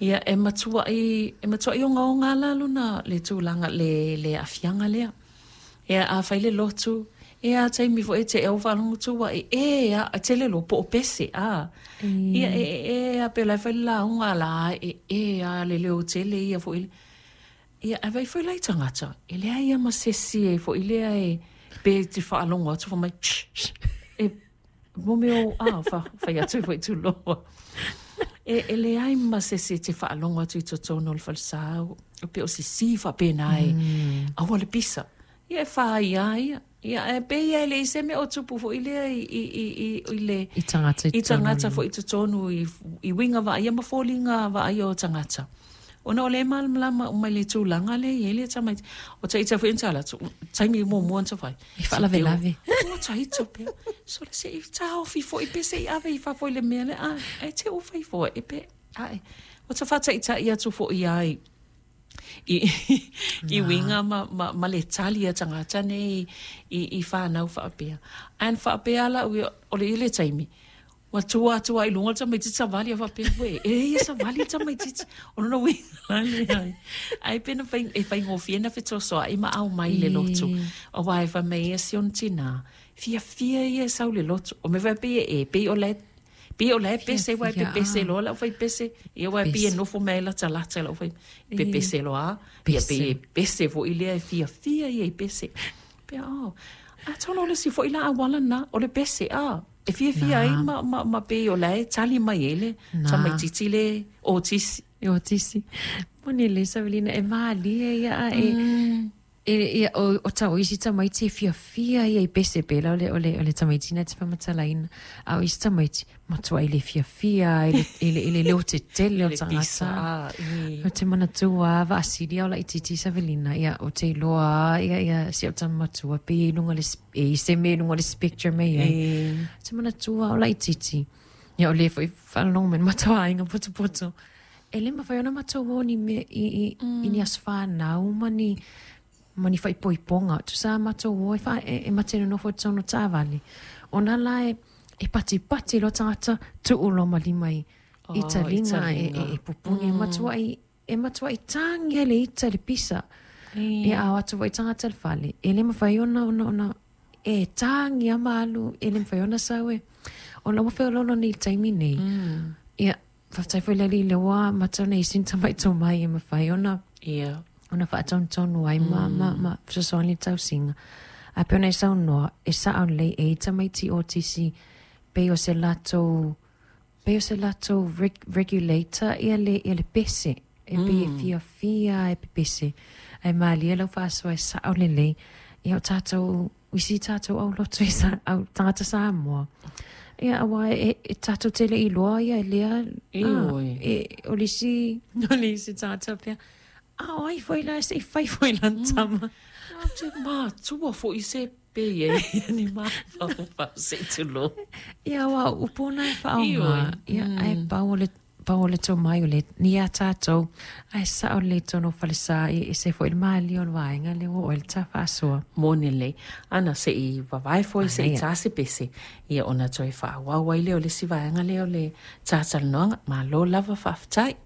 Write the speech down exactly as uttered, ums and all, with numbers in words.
Ia e matua'i e matua'i ogaoga la lona le tulaga le le aafiaga lea. Ia a fai le lotu, ia a taimi foi e te au faalogo tu ai e a e tele lo po o pese a. Ia e e e a pe la fai le lauga la e e a le leo tele ia foi. Ia a vai foi lai tagata, e leai ia ma sesi e foi lea e pe te faalogo atu fai mai sh, sh, e mo mea o a fa fai atu foi tuloa. E e leai ma sesi e te faalogo atu i totonu o le falesa o pe o sisi faapena e aua le pisa. Ia e whai a ia. Ia e pe ia e le i se mea o tupu foi lea i, i, i, i, i le I tagata i i tagata totonu. foi i totonu i, i uiga vaaia ma foliga vaaia o tagata. Ona o le malamalama uma i le tulaga lea e i ai le tamaiti. O taita foi na tala atu, taimi muamua na fai. E faalavelave. Ua taita pea. So le se i taofi foi pe se i ave i fafo i le mea le a, e te u fai foi e pe, ae. O ta whātaitai atu foi ai i, i uiga ma, ma, ma le tali a tagata nei i, i whānau whaapea. An whaapea la ui, o le ile taimi, ua tua atu ai luga o le tamaitiiti savali a faapea, "Uē, e ia savali le tamaitiiti." O lona uiga la lea. Ai pe na fai, e faigofie na fetosoa'i ma aumai le lotu. Auā e fai mai ia si ona tinā, fiafia ia e sau i le lotu. O mea foi pei e e, pei o lae pei o lae pese uae pepese loa lau fai pese. Ia uae pei e nofo mai ai latalata i lau fai pepese loa a. Ia pei e pese foi lea e fiafia ia i pese. Pea oh, atonu o le isi foi la auala lena, o le pese a. E fiafia ai ma, ma, ma pei o lae tali mai ai le tamaitiiti le otisi. E otisi. Moni le Savelina e malie ia a e e ia o o tau isi tamaiti e fiafia ia i pese pela o le o le o le tamaiti na te faamatalaina. A o isi tamaiti matuai le fiafia i le i le i le leo tetele o Le pisa tagata. a, i. O te manatua vaasili o laitiiti Savelina ia o te iloa ia ia si o tama matua pe i luga le e i se mea i luga o le spectrum e iai. E. Te manatua o laitiiti. Ia o le foi faalogo mai le matou aiga potopoto. E le mafai ona matou o ni mea i i i ni aso fanau ma ni ma ni faaipoipoga. Tusa matou o e faa e, e mate nonofo i totonu o taavale. Ona la e e patipati loa tagata tuu loa ma lima i Oh, i taliga e, i taliga. e, e pupuni. E matuai e matuai tagia le ita i le pisa. Ia a o atu foi tagata i le fale. E le mafai ona ona ona e tagia ma alu e le mafai ona sau e. Ona ua feoloolo nei i le taimi nei. Ia faafetai foi le Alii lea ua amata ona i sina tamai tomai e mafai ona Ia. ona faatonutonu ai ma ma ma fesoasoani i le tausiga. Ae pei ona e saunoa, e sao lelei e i tamaiti otisi pei o se latou pei o se latou reg, regulator ia le ia le pese. E pei e fiafia e pepese. Ae malie lau faasoa e sao lelei. Ia o tatou isi tatou aulotu i sa, au tagata Samoa. Ia auā e, e tatou te le'i iloa ia e lea Ioe. e, o le isi o le isi tagata pea. A o ai foi la se i fai foi lana tama. A te matua foi se pe e ni mafaufau se i tulou. Ia auā o upu na e faaoga. Ioe. Ia ae pau o le pau o le tomai o le ni iā tatou. Ae sao lelei i totonu o falesa e ese foi le malie o le vaega lea ua oo ai le ta faasoa. Moni lelei. Ana se i vavae foi se i Manaia. tā se pese. Ia ona toe faaauau ai lea o le isi vaega lea o le tātalanoaga. Malo lava faafetai.